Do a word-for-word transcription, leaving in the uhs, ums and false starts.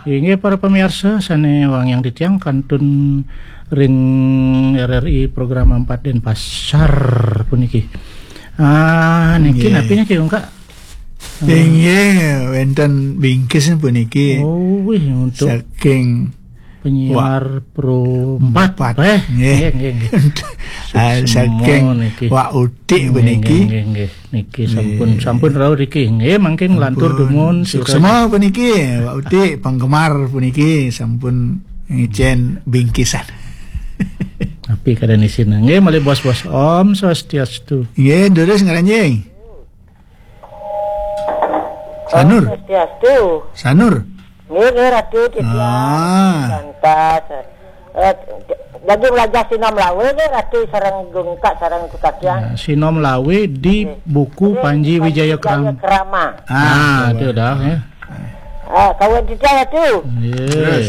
Inggih, para pamiarsa sané wangiang titiang, kantun ring R R I Program empat Denpasar puniki. Ah, niki napi niki, Ungkak? Inggih, wénten bingkis puniki. Oh, wih, untuk saking penyiar Pro empat. Empat. Eh, nggih. Nggih, nggih, nggih. Ah, saking Wak Utik puniki. Nggih, nggih, nggih. Niki sampun, nggih, sampun rauh niki. Nggih, mangkin lantur dumun. Suksma puniki, Wak Utik, penggemar puniki sampun ngicén bingkisan. Tapi kada isina. Nggih, malih bos-bos. Om Swastiastu. Nggih, durus ngranjing. Sanur. Swastiastu. Sanur. Nggih, nggih, Ratu, titiang. Ah. Santas. Eh, lagi belajar Sinom Lawe nggih, Ratu, sareng Ungkak, sareng Tukakian. Ya, Sinom Lawe di buku Panji Wijaya Krama. Ah, itu dah, ya. Ah, kawin titiang, Ratu. Yes. Terus.